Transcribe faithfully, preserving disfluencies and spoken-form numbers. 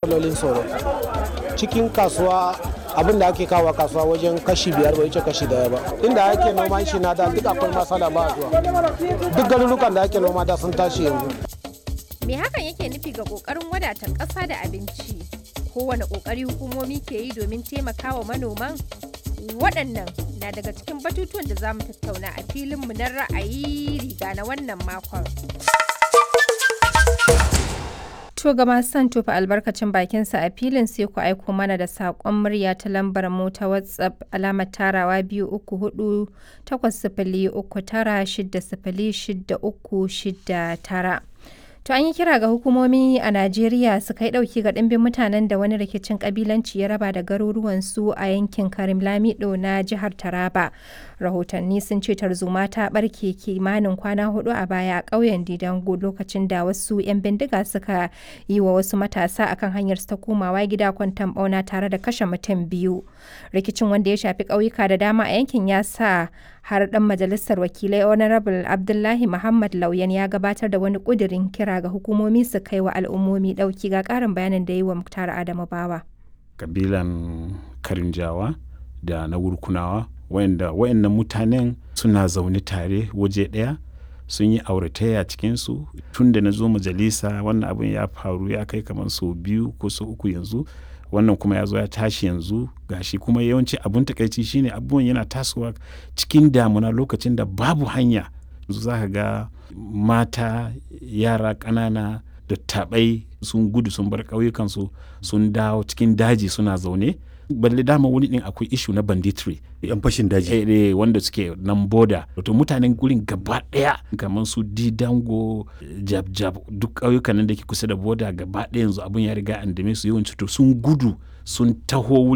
Matsalolin tsaro cikin kasuwa, abin da ake kawo kasuwa wajen kashi biyar bai wuce kashi daya ba. Inda ake noman shi na da duk akwai masala, ba zuwa. Duk garurukan da ake noma da sun tashi yanzu. Me hakan yake nufi ga ƙoƙarin wadata ƙasa da abinci? Kowane ƙoƙari hukumomi ke yi domin taimakawa manoman? Waɗannan na daga cikin batutuwan da za mu tattauna a filinmu na ra'ayi riga na wannan makon. To ga masu son tofa albarkacin bakinsa a filin, sai ku aiko mana da saƙon murya ta lambar mu ta WhatsApp alamar tarawa biyu uku hudu takwas sifili uku tara shida sifili shida uku shida tara. To an yi kira ga hukumomi a Najeriya su kai ɗauki ga ɗimbin mutanen da wani rikicin ƙabilanci ya raba da garuruwansu a yankin Karim Lamido na jihar Taraba. Rahotanni sun ce tarzoma ta ɓarke kimanin kwana hudu a baya a ƙauyen Didango lokacin da wasu 'yan bindiga suka yi wa wasu matasa akan hanyar su ta komawa gida kwanton ɓauna tare da kashe mutum biyu. Rikicin, wanda ya shafi ƙauyuka da dama a yankin, ya sa har ɗan majalisar wakilai Honorable Abdullahi Muhammad Lauyan ya gabatar da wani ƙudirin kira ga hukumomi su kai wa al'ummomi ɗauki. Ga ƙarin bayanin da yi wa Muktar Adamu Bawa. Kabilan Karinjawa da na Wurkunawa, wayanda wayannan mutanen suna zaune tare waje ɗaya, sun yi auratayya cikinsu. Tun da na zo majalisa wannan abin ya faru ya kai kamar sau biyu ko sau uku yanzu. Wannan kuma ya zo ya tashi yanzu gashi. Kuma yawanci abun takaici shine abubuwan yana tasowa cikin damuna, lokacin da babu hanya. Yanzu za ka ga mata, yara ƙanana, dattabai sun gudu sun bar ƙauyukansu, sun dawo cikin daji suna zaune. Balle dama wani din akwai issue na banditry. Yan fashin daji. Eh, eh, wanda suke nan boda. Wato mutanen gurin gaba daya, kamar su Didango, Jab Jab, duk ƙauyukan nan da ke kusa da boda, gaba daya yanzu abun ya riga an dame su yawanci. To sun gudu sun taho.